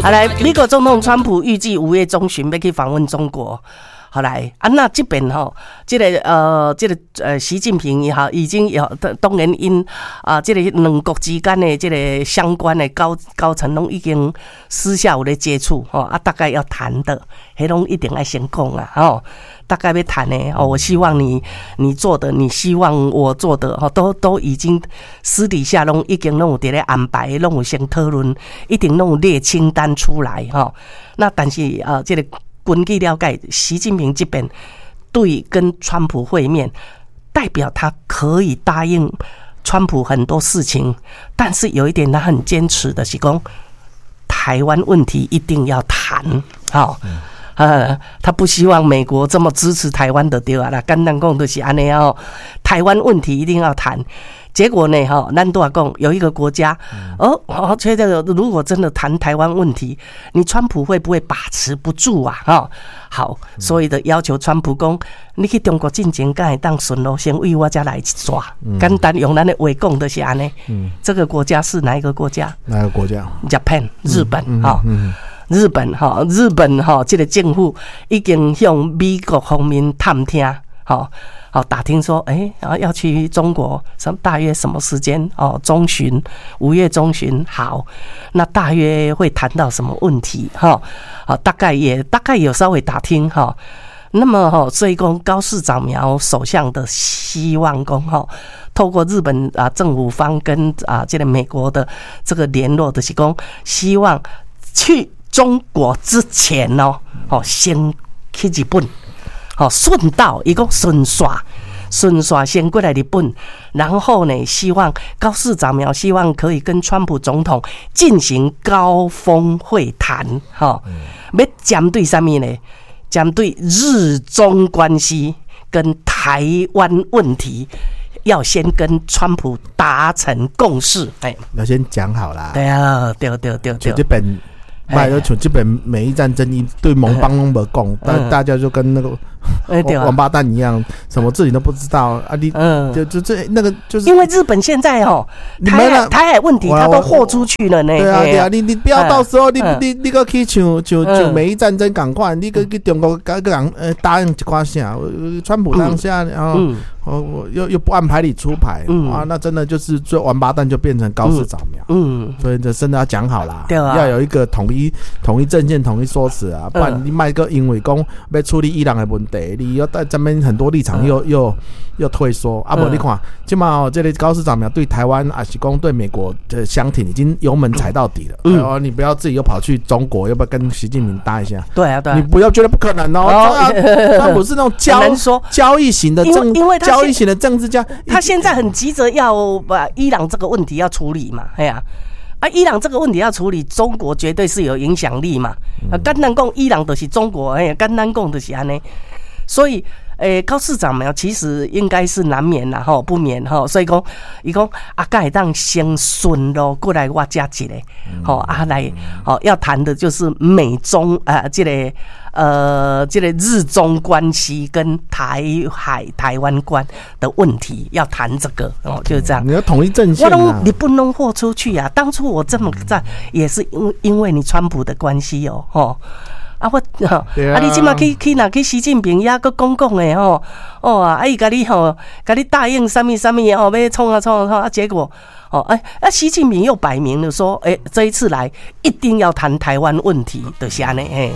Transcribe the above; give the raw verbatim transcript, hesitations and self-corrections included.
好來，美國總統川普預計五月中旬欲去訪問中國。好來，啊，那這邊吼，這个呃，這个呃，習近平也好，已經有當然𪜶啊，這个兩國之間的這个相關的高高層攏已經私下有咧接觸吼，啊，大概要談的，彼攏一定愛先講啊，吼，大概欲談的哦，我希望你你做的，你希望我做的，吼，都都已經私底下攏已經攏有佇咧安排，攏有先討論，一定攏有列清單出來，吼。那但是啊，這个根據了解，習近平這邊對跟川普會面，代表他可以答應川普很多事情，但是有一點他很堅持的是講，台灣問題一定要談，吼，呃，他不希望美國這麼支持台灣的對啊啦，簡單講就是按呢哦，台灣問題一定要談。結果呢，哈，咱都講有一個國家，哦，哦，覺得如果真的談台灣問題，你川普會不會把持不住啊？哈，好，所以的要求川普講，你去中國進前，敢會當順路先為我遮來一逝，簡單用咱的話講就是按呢。這個國家是哪一個國家？哪個國家？Japan，日本，哈。日本哈，日本哈，這個政府已經向美國方面探聽，吼。好，打聽說，哎，然後要去中國，什大約什麼時間？哦，中旬，五月中旬，好，那大約會談到什麼問題？哈，好，大概也大概有稍微打聽哈。那麼哈，所以講高市早苗首相的希望講哈，透過日本啊政府方跟啊這個美國的這個聯絡的是講，希望去中國之前哦，哦先去日本。哦，順道伊講順紲，順紲先過來日本，然後呢，希望高市早苗希望可以跟川普總統進行高峰會談，吼，欲針對啥物呢？針對日中關係跟台灣問題，要先跟川普達成共識。哎，要先講好啦。對啊，對對對對。這邊。賣就像這邊美伊戰爭，一對盟邦攏無講，但大家就跟那個王八蛋一樣，什麼事情都不知道啊！你就就這那個就是因為日本現在哦，台海台海問題他都豁出去了呢。對啊對啊，你你不要到時候你你你閣去像像像美伊戰爭仝款，你閣去中國共人呃答應一寡啥？川普當下然後我又又不按牌理出牌啊，那真的就是最王八蛋就變成高市早苗。嗯，所以這真的要講好啦，要有一個統一統一陣線、統一說辭啊，不然你莫閣因為講欲處理伊朗的問題，你又在這邊很多立場又又又退縮啊！無你看，這馬這个高市早苗對台灣抑是講對美國的相挺，已經油門踩到底了。哦，你不要自己又跑去中國，要不要跟習近平搭一下？對啊，對，你不要覺得不可能哦。他不是那種交交易型的政，因為交易型的政治家，他現在很急着要把伊朗這個問題要處理嘛，哎呀。啊，伊朗這個問題要處理，中國絕對是有影響力嘛。啊，簡單講，伊朗就是中國，哎，簡單講就是按呢。所以，欸，高市早苗其實應該是難免啦，吼，不免吼。所以講，伊講啊，敢會當先順路過來我遮一个，吼啊來，吼要談的就是美中啊，這个呃，這个日中關係跟台海台灣關的問題，要談這個哦，就是這樣。你要統一陣線。我攏你不能豁出去啊！當初我這麼在，也是因因為你川普的關係哦，吼。啊我，啊你這馬去去若去習近平遐閣講講的吼，哦啊伊共你吼，共你答應啥物啥物哦，欲創啊創啊創啊，結果哦欸啊習近平又擺明了說，欸這一次來一定要談台灣問題，就是按呢嘿。